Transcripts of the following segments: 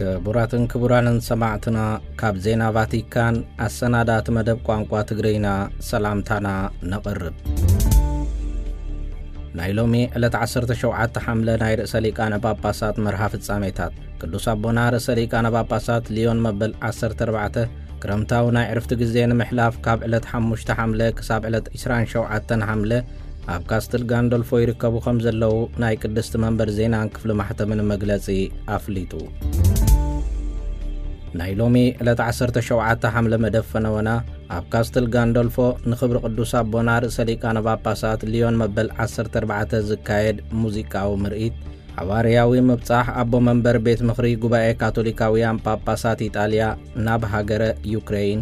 ክቡራትን ክቡራንን ሰማዕትና፣ ካብ ዜና ቫቲካን ኣሰናዳእቲ መደብ ቋንቋ ትግርይና ሰላምታና ነቕርብ። ናይ ሎሚ ዕለት ዓሰርተ ሸውዓተ ሓምለ ናይ ርእሰ ሊቃነ ጳጳሳት መርሃ ፍጻሜታት። ቅዱስ ኣቦና ርእሰ ሊቃነ ጳጳሳት ሊዮን መበል ዓሰርተ ኣርባዕተ ክረምታዊ ናይ ዕርፍቲ ግዜ ንምሕላፍ ካብ ዕለት ሓሙሽተ ሓምለ ክሳብ ዕለት ዕስራን ሸውዓተን ሓምለ ኣብ ካስትል ጋንዶልፎ ይርከቡ ከም ዘለዉ ናይ ቅድስቲ መንበር ዜናን ክፍሊ ማሕተምን መግለጺ ኣፍሊጡ። ናይ ሎሚ ዕለት ዓሰርተ ሸውዓተ ሓምለ መደብ ፈነወና ኣብ ካስትል ጋንዶልፎ ንኽብሪ ቅዱስ ኣቦና ርእሰ ሊቃነ ጳጳሳት ሊዮን መበል ዓሰርተ ኣርባዕተ ዝካየድ ሙዚቃዊ ምርኢት፣ ሓዋርያዊ ምብጻሕ ኣቦ መንበር ቤት ምኽሪ ጉባኤ ካቶሊካውያን ጳጳሳት ኢጣልያ ናብ ሃገረ ዩክሬይን፣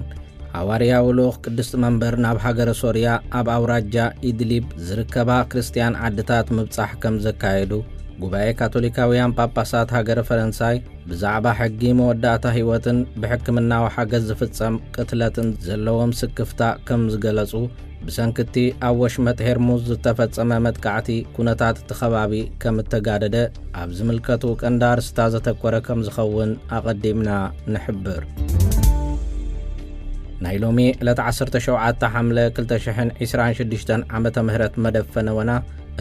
ሓዋርያዊ ልኡኽ ቅድስቲ መንበር ናብ ሃገረ ሶርያ ኣብ ኣውራጃ ኢድሊብ ዝርከባ ክርስትያን ዓድታት ምብጻሕ ከም ዘካየዱ፣ ጉባኤ ካቶሊካውያን ጳጳሳት ሃገረ ፈረንሳይ ብዛዕባ ሕጊ መወዳእታ ህይወትን ብሕክምናዊ ሓገዝ ዝፍጸም ቅትለትን ዘለዎም ስክፍታ ከም ዝገለጹ፣ ብሰንክቲ ኣብ ወሽመጥ ሄርሙዝ ዝተፈጸመ መጥቃዕቲ ኩነታት እቲ ከባቢ ከም እተጋደደ ኣብ ዝምልከቱ ቀንዲ ኣርስታ ዘተኮረ ከም ዝኸውን ኣቐዲምና ንሕብር። ናይ ሎሚ ዕለት ዓሰርተ ሸውዓተ ሓምለ ክልተ ሽሕን ዕስራን ሽዱሽተን ዓመተ ምህረት መደብ ፈነወና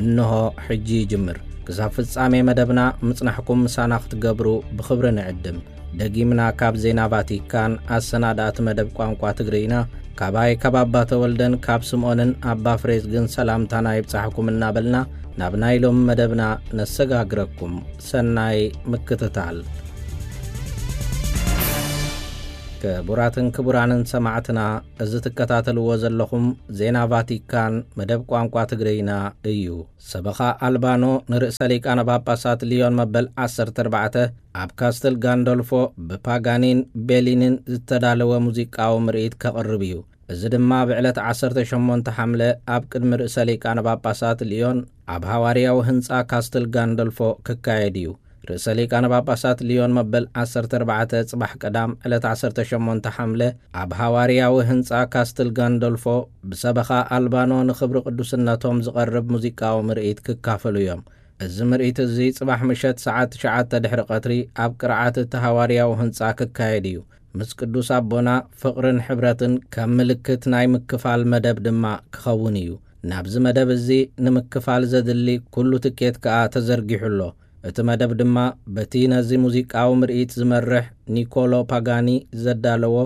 እንሆ ሕጂ ይጅምር። ክሳብ ፍጻሜ መደብና ምጽናሕኩም ምሳና ክትገብሩ ብኽብሪ ንዕድም። ደጊምና ካብ ዜና ቫቲካን ኣሰናዳእቲ መደብ ቋንቋ ትግርይና፣ ካባይ ካብ ኣባ ተወልደን ካብ ስምኦንን ኣባ ፍሬዝግን ሰላምታና ይብጻሕኩም እናበልና፣ ናብ ናይ ሎሚ መደብና ነሰጋግረኩም። ሰናይ ምክትታል። ክቡራትን ክቡራንን ሰማዕትና፣ እዚ ትከታተልዎ ዘለኹም ዜና ቫቲካን መደብ ቋንቋ ትግርይና እዩ። ሰበኻ ኣልባኖ ንርእሰ ሊቃነ ጳጳሳት ሊዮን መበል ዓሰርተ ኣርባዕተ ኣብ ካስትል ጋንዶልፎ ብፓጋኒን ቤሊንን ዝተዳለወ ሙዚቃዊ ምርኢት ከቕርብ እዩ። እዚ ድማ ብዕለት ዓሰርተ ሸሞንተ ሓምለ ኣብ ቅድሚ ርእሰ ሊቃነ ጳጳሳት ሊዮን ኣብ ሃዋርያዊ ህንጻ ካስትል ጋንዶልፎ ክካየድ እዩ። ርእሰ ሊቃነ ጳጳሳት ሊዮን መበል ዓሰርተ ኣርባዕተ ጽባሕ ቀዳም ዕለት ዓሰርተ ሸሞንተ ሓምለ ኣብ ሃዋርያዊ ህንጻ ካስትል ጋንዶልፎ ብሰበኻ ኣልባኖ ንኽብሪ ቅዱስነቶም ዝቐርብ ሙዚቃዊ ምርኢት ክካፈሉ እዮም። እዚ ምርኢት እዚ ጽባሕ ምሸት ሰዓት ትሽዓተ ድሕሪ ቀትሪ ኣብ ቅርዓት እቲ ሃዋርያዊ ህንጻ ክካየድ እዩ። ምስ ቅዱስ ኣቦና ፍቕርን ሕብረትን ከም ምልክት ናይ ምክፋል መደብ ድማ ክኸውን እዩ። ናብዚ መደብ እዚ ንምክፋል ዘድሊ ኩሉ ትኬት ከኣ ተዘርጊሑ ኣሎ። እቲ መደብ ድማ በቲ ነዚ ሙዚቃዊ ምርኢት ዝመርሕ ኒኮሎ ፓጋኒ ዘዳለዎ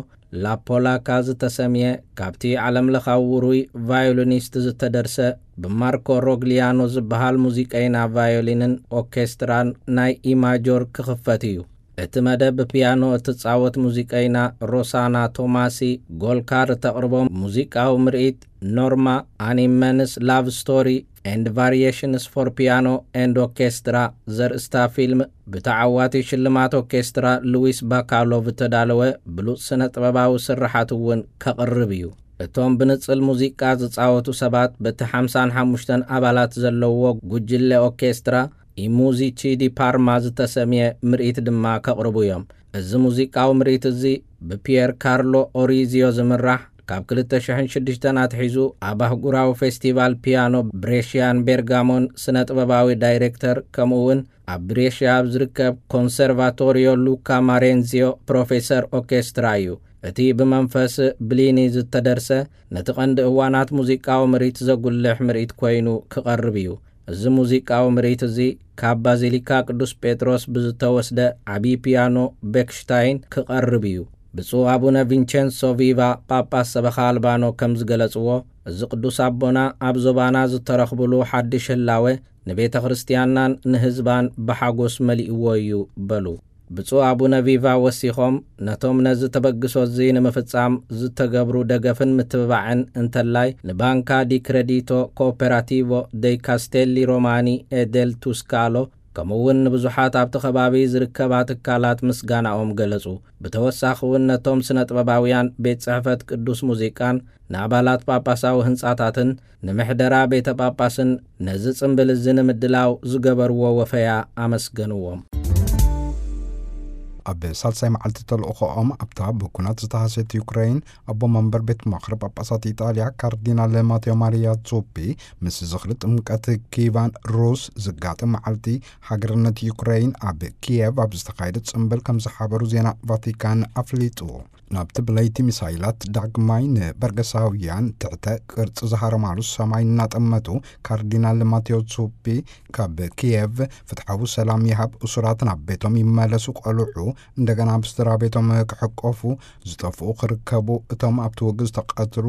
ላፖላካ ዝተሰምየ ካብቲ ዓለምለኻዊ ውሩይ ቫዮሊኒስት ዝተደርሰ ብማርኮ ሮግሊያኖ ዝበሃል ሙዚቀይና ቫዮሊንን ኦርኬስትራን ናይ ኢማጆር ክኽፈት እዩ። እቲ መደብ ብፒያኖ እትጻወት ሙዚቀይና ሮሳና ቶማሲ ጎልካር እተቕርቦ ሙዚቃዊ ምርኢት ኖርማ፣ ኣን ኢመንስ ላቭ ስቶሪ ኤንድ ቫሪዬሽንስ ፎር ፒያኖ ኤንድ ኦርኬስትራ ዘርእስታ ፊልም ብተዓዋቲ ሽልማት ኦርኬስትራ ሉዊስ ባካሎቭ እተዳለወ ብሉጽ ስነ ጥበባዊ ስርሓት እውን ከቕርብ እዩ። እቶም ብንጽል ሙዚቃ ዝጻወቱ ሰባት በቲ ሓምሳን ሓሙሽተን ኣባላት ዘለዎ ጉጅለ ኦርኬስትራ ኢሙዚቺ ዲ ፓርማ ዝተሰምየ ምርኢት ድማ ከቕርቡ እዮም። እዚ ሙዚቃዊ ምርኢት እዚ ብፒየር ካርሎ ኦሪዚዮ ዝምራሕ ካብ ክልተ ሽሕን ሽዱሽተን ኣትሒዙ ኣብ ኣህጉራዊ ፌስቲቫል ፒያኖ ብሬሽያን ቤርጋሞን ስነ ጥበባዊ ዳይሬክተር ከምኡ እውን ኣብ ብሬሽያ ኣብ ዝርከብ ኮንሰርቫቶሪዮ ሉካ ማሬንዚዮ ፕሮፌሰር ኦርኬስትራ እዩ። እቲ ብመንፈስ ብሊኒ ዝተደርሰ ነቲ ቀንዲ እዋናት ሙዚቃዊ ምርኢት ዘጉልሕ ምርኢት ኮይኑ ክቐርብ እዩ። እዚ ሙዚቃዊ ምርኢት እዚ ካብ ባዚሊካ ቅዱስ ጴጥሮስ ብዝተወስደ ዓቢ ፒያኖ ቤክሽታይን ክቐርብ እዩ። ብፁዕ ኣቡነ ቪንቸንሶ ቪቫ ጳጳስ ሰበኻ ኣልባኖ ከም ዝገለጽዎ፣ እዚ ቅዱስ ኣቦና ኣብ ዞባና ዝተረኽብሉ ሓድሽ ህላወ ንቤተ ክርስቲያንናን ንህዝባን ብሓጎስ መሊእዎ እዩ በሉ። ብፁዕ ኣቡነ ቪቫ ወሲኾም፣ ነቶም ነዚ ተበግሶ እዚ ንምፍጻም ዝተገብሩ ደገፍን ምትብባዕን እንተላይ ንባንካ ዲ ክሬዲቶ ኮኦፐራቲቮ ደይ ካስቴሊ ሮማኒ ኤ ደል ቱስካሎ ከምኡ እውን ንብዙሓት ኣብቲ ከባቢ ዝርከባ ትካላት ምስጋናኦም ገለጹ። ብተወሳኺ እውን ነቶም ስነ ጥበባውያን ቤት ጽሕፈት ቅዱስ ሙዚቃን ንኣባላት ጳጳሳዊ ህንጻታትን ንምሕደራ ቤተ ጳጳስን ነዚ ጽምብል እዚ ንምድላው ዝገበርዎ ወፈያ ኣመስገንዎም። ኣብ ሳልሳይ መዓልቲ ተልእኾኦም ኣብታ ብኩናት ዝተሃሰየት ዩክሬን፣ ኣቦ መንበር ቤት ምኽሪ ጳጳሳት ኢጣልያ ካርዲናል ማቴዎ ማሪያ ዙፒ ምስ ዝኽሪ ጥምቀት ኪቫን ሩስ ዝጋጥም መዓልቲ ሃገርነት ዩክሬን ኣብ ኪየቭ ኣብ ዝተኻየደ ጽምብል ከም ዝሓበሩ ዜና ቫቲካን ኣፍሊጡ። ናብቲ ብለይቲ ሚሳይላት ዳግማይ ንበርገሳውያን ትሕተ ቅርጺ ዝሃረማሉ ሰማይ እናጠመቱ፣ ካርዲናል ማቴዎ ዙፒ ካብ ኪየቭ፣ ፍትሓዊ ሰላም ይሃብ፣ እሱራት ናብ ቤቶም ይመለሱ፣ ቆልዑ እንደገና ኣብ ስድራ ቤቶም ክሕቆፉ፣ ዝጠፍኡ ክርከቡ፣ እቶም ኣብቲ ውግእ ዝተቐትሉ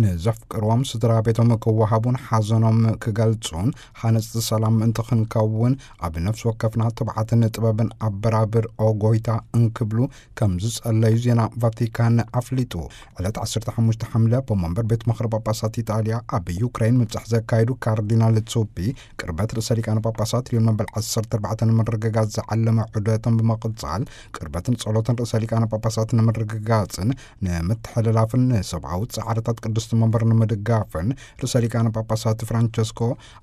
ንዘፍቅርዎም ስድራ ቤቶም ክወሃቡን ሓዘኖም ክገልጹን፣ ሃነጽቲ ሰላም ምእንቲ ክንከውን ኣብ ነፍሲ ወከፍና ትብዓትን ጥበብን ኣበራብር፣ ኦ ጎይታ፣ እንክብሉ ከም ዝጸለዩ ዜና ቫቲካን ኣፍሊጡ። ዕለት ዓሰርተ ሓሙሽተ ሓምለ ኣቦ መንበር ቤት ምኽሪ ጳጳሳት ኢጣልያ ኣብ ዩክሬን ምብጻሕ ዘካየዱ ካርዲናል ዙፒ፣ ቅርበት ርእሰ ሊቃነ ጳጳሳት ልዮን መበል ዓሰርተ ኣርባዕተ ንምርግጋጽ ዝዓለመ ዑደቶም ብምቕጻል፣ ቅርበትን ጸሎትን ርእሰ ሊቃነ ጳጳሳት ንምርግጋጽን ንምትሕልላፍን ንሰብኣዊ ጻዕርታት ቅድስቲ መንበር ንምድጋፍን ርእሰ ሊቃነ ጳጳሳት ፍራንቸስኮ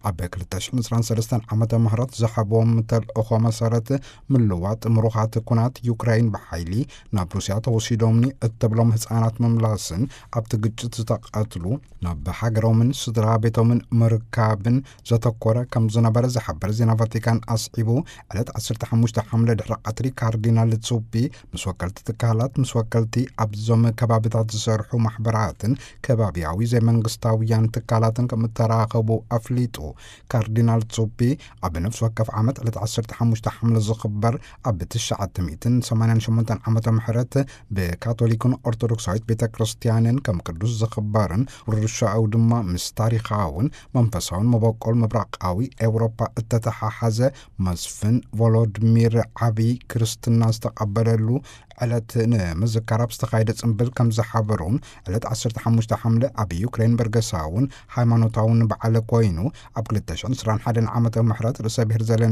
ኣብ ክልተ ሽሕን ዕስራን ሰለስተን ዓመተ ምህረት ዝሃብዎም ተልእኾ መሰረት ምልዋጥ ምሩኻት ኩናት ዩክሬን ብሓይሊ ናብ ሩስያ ተወሲዶምኒ እትብሎም ህጻናት ምምላስን ኣብቲ ግጭት ዝተቐትሉ ናብ ሃገሮምን ስድራ ቤቶምን ምርካብን ዘተኮረ ከም ዝነበረ ዝሓበር ዜና ቫቲካን ኣስዒቡ፣ ዕለት ዓሰርተ ሓሙሽተ ሓምለ ድሕሪ ቀትሪ ካርዲናል ዙፒ ምስ ወከልቲ ትካላት፣ ምስ ወከልቲ ኣብዞም ከባብታት ዝሰርሑ ማሕበራትን ከባቢያዊ ዘይመንግስታውያን ትካላትን ከም እተራኸቡ ኣፍሊጡ። ካርዲናል ዙፒ ኣብ ነፍሲ ወከፍ ዓመት ዕለት ዓሰርተ ሓሙሽተ ሓምለ ዝኽበር ኣብ ትሽዓተ ሚእትን ሰማንያን ሸሞንተን ዓመተ ምህረት ብካቶሊክን ኦርቶዶክሳዊት ቤተ ክርስቲያንን ከም ቅዱስ ዝኽበርን ውርሻኡ ድማ ምስ ታሪኻውን መንፈሳውን መበቆል ምብራቓዊ ኤውሮፓ እተተሓሓዘ፣ መስፍን ቮሎድሚር ዓቢ ክርስትና ዝተቐበለሉ ዕለት ንምዝካር ኣብ ዝተኻየደ ጽምብል ከም ዝሓበሩን፣ ዕለት ዓሰርተ ሓሙሽተ ሓምለ ኣብ ዩክሬን በርገሳውን ሃይማኖታውን በዓል ኮይኑ፣ ኣብ ክልተ ሽሕን ዕስራን ሓደን ዓመተ ምህረት ርእሰ ብሔር